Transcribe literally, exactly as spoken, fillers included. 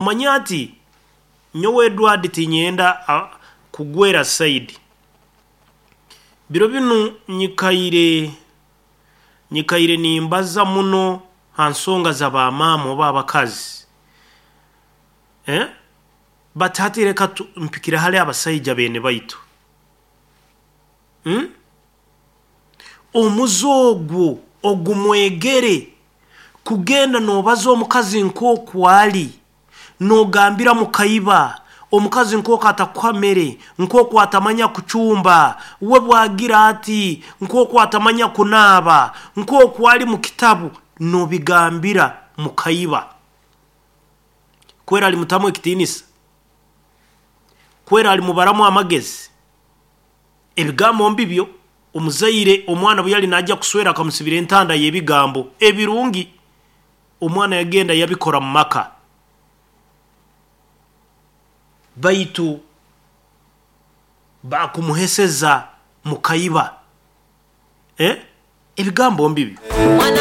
Omanye ati nyowe Edward tinyenda kugwera side. Biro binu nyikaire nyikaire nimbaza muno ha nsonga z'abamaama oba abakazi, eh? But hati leka mpikire hali abasaija beene baitu, hmm? Omuze ogwo ogumwegere kugenda noobaza omukazi nkooku ali, noogambira mukaiba omukazi nkooku atakuha mere, nkooku atamanya kucumba, we bwagira ati nkooku atamanya kunaaba, nkooku ali mu kitabu, noobigambira mukaiba. Kweri alimutamu ekitiinisa, kweri alimubaramu amagezi, ebigambo mbibyo. Omuzaire omwana obu yali naija kuswera akamusibira entanda y'ebigambo ebirungi, omwana yagenda yabikora mu maka, baitu baakumuheseza mukaiba, eh, ebigambo mbibyo.